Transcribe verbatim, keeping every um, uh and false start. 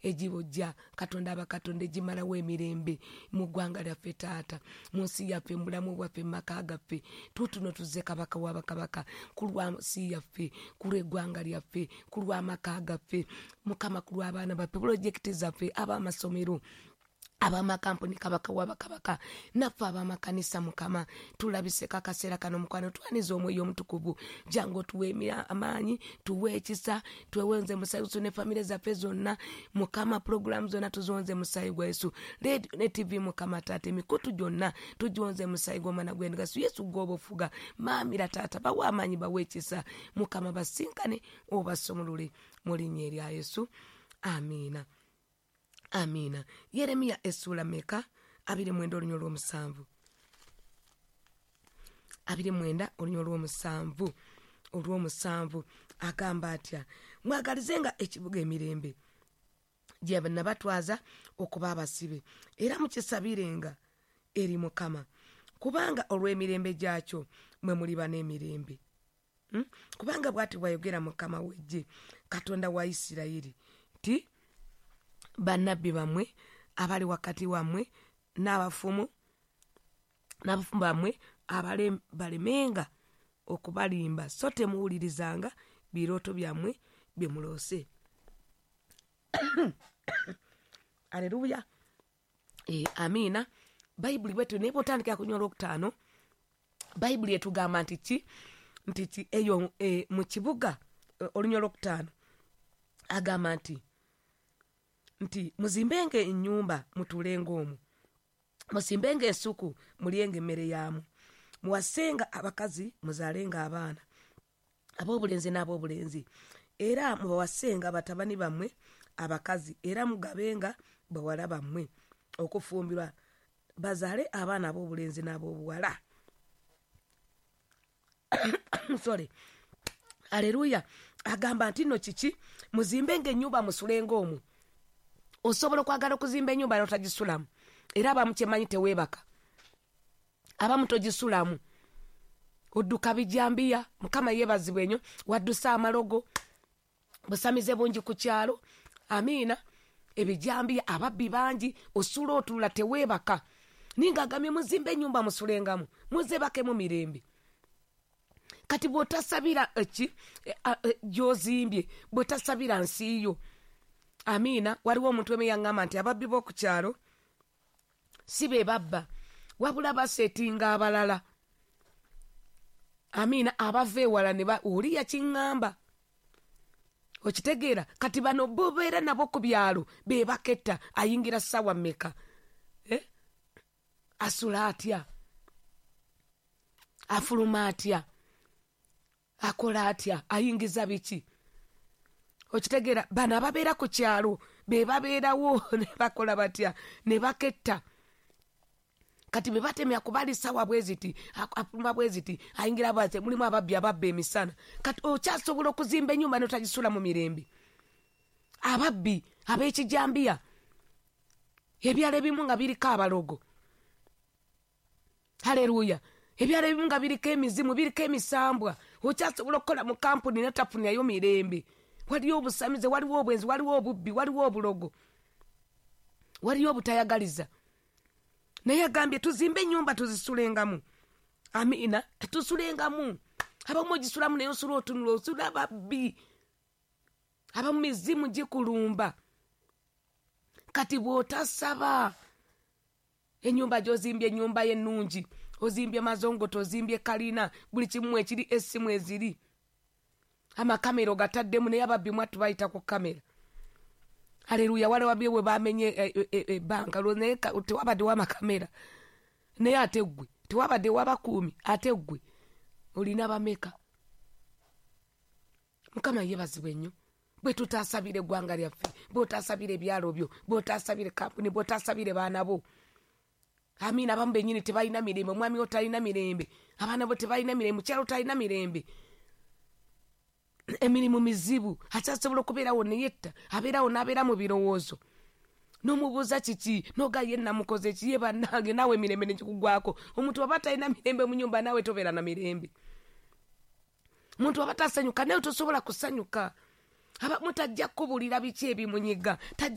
Egibojja Katonda abakatonda egimalawo emirembe mu ggwanga lyaffe taata, mu nsi yaffe, mu bulamu bwaffe, mu maka gaffe. Tuutuno tuzze Kabaka w'abakabaka ku lwa nsi yaffe, ku lw'eggwanga lyaffe, ku lw'amaka gaffe, Mukama, ku lw'abaana baffe, pulojekiti zaffe, ab'amasomero, ab'amakampuni, Kabaka w'abakabaka, naffe ab'amakanisa. Mukama, tulabiseko akaseera kano. Mukwano, twaniza Omwoyo Omutukuvu. Jangu otuwe amaanyi, tuwe ekisa, twewenze musayi Yesu ne famire zaffe zonna. Mukama, pulogulaamu zonna tuziwonze musayi gwa Yesu. Radio ne T V, Mukama taata, emikutu gyonna tugiwonze musayi gw'omwana gw'endiga Yesu. Gwoba ofuga maamira taata, bawe amaanyi, bawe ekisa. Mukama, basinkane obasumulule mu linnya erya Yesu, amiina, amiina. Yeremiya essuula meka? Abiri mwenda olunya olw'omusanvu. Abiri mwenda olunya olw'omusanvu, olw'omusanvu agamba atya? Mwagalizenga ekibuga emirembe gye nabatwaza okuba abasibe, era mukisabirenga eri Mukama, kubanga olw'emirembe gyakyo mwe muliba n'emirembe. Hmm? Kubanga bw'ati bw'ayogera Mukama w'eggye, Katonda wa Isirayiri, nti bannabbi bammwe abali wakati wammwe n'abafumu n'abafumu bammwe abale- balemenga okubalimba, so temuwulirizanga birooto byammwe bye muloose. Aleluya. E, amiina. Bayibuli bwetyo, naye bwotandikira kunywa olwokutaano, Bayibuli etugamba nti ki? Nti ki eyo e, mu kibuga e, olunya olwokutaano agamba nti nti muzimbenga ennyumba mutuulenga omwo, musimbenga ensuku mulyenga emmere yaamu, muwasenga abakazi muzaalenga abaana ab'obulenzi n'ab'obulenzi, era mubawasenga batabani bammwe abakazi, era mugabenga bawala bammwe okufumbirwa bazaale abaana ab'obulenzi n'ab'obuwala. Sorry. Aleluya. Agamba nti nno kiki? Muzimbenga ennyumba musulenga omwo. Osobola okwagala okuzimba ennyumba notagisulamu, era abamu kyemanyi teweebaka, abamu togisulamu, odduka bijambiya. Mukama yeebazibwa enyo. Wadduse amalogo, busamize bungi ku kyalo. Amiina. Ebijambiya, ababbi bangi, osula otulula, teweebaka. Ninga agambye muzimbe ennyumba musulengamu, muzebakemu mirembe. Kati bw'otasabira eki e, a- e, gy'ozimbye, bw'otasabira nsi yo. Amiina. Waliwo omuntu emu yaŋŋamba nti ababbi b'oku kyalo si be babba, wabula baseetinga abalala. Amiina. Abava ewala ne ba oli yakiŋŋamba, okitegeera? Kati bano bobeera nabo ku byalo be baketta. Ayingira ssaawa mmeka? Eh? Asula atya? Afuluma atya? Akola atya? Ayingiza biki? Okitegeera? Bano ababeera ku kyalo be babeerawo ne bakola batya? Ne baketta. Kati be batemya kubali sawa bwe ziti, afuluma bwe ziti, ayingira bwati. Mulimu ababbi ababba emisana. Kati okyasobola okuzimba ennyumba notagisula mu mirembe? Ababbi ab'ekijambiya, ebyalo ebimu nga biriko abalogo. Haleluya. Ebyalo ebimu nga biriko emizimu, biriko emisambwa. Okyasobola okukola mu kampuni notafunirayo mirembe? Waliyo obusamize, waliwo obwenzi, waliwo obubbi, waliwo obulogo, waliyo obutayagaliza. Naye agambye tuzimbe ennyumba tuzisulengamu. Amiina. Tusulengamu. Abamu ogisulamu naye osula otunula, osula babbi, abamu mizimu gikulumba. Kati bw'otasaba, ennyumba gy'ozimbye, ennyumba y'ennungi, ozimbye mazongoto, ozimbye kalina, buli kimu ekiri, essimu eziri, amakamera ogataddemu, naye ababbi mwattu bayita ku kamera. Aleluya. Waliwo bwe bamenye ebbanka, naye tewabaddewo amakamera, naye ate ggwe tewabaddewo abakuumi, ate ggwe olina bameka? Mukama yeebazibwe nnyo. Bwe tutaasabira eggwanga lyaffe, bw'otaasabira ebyalo byo, bw'otaasabira kampuni, bw'otaasabire baana bo. Amiina. Abamu bennyini tebalina mirembe. Omwami wo talina mirembe, abaana bo tebalina mirembe, mukyalo talina mirembe, emirimu mizibu, akyasobola okubeerawo neyetta, abeerawo n'abeera mu birowoozo, n'omubuuza kiki, noga ye namukoze ki ye bannange, naawe emirembe nekikugwako. Omuntu aba talina mirembe mu nyumba, naawe tobeera na mirembe. Omuntu aba tasanyuka, nawe tosobola kusanyuka. Abamu tajja kukubulira biki ebimunyiga, tajja.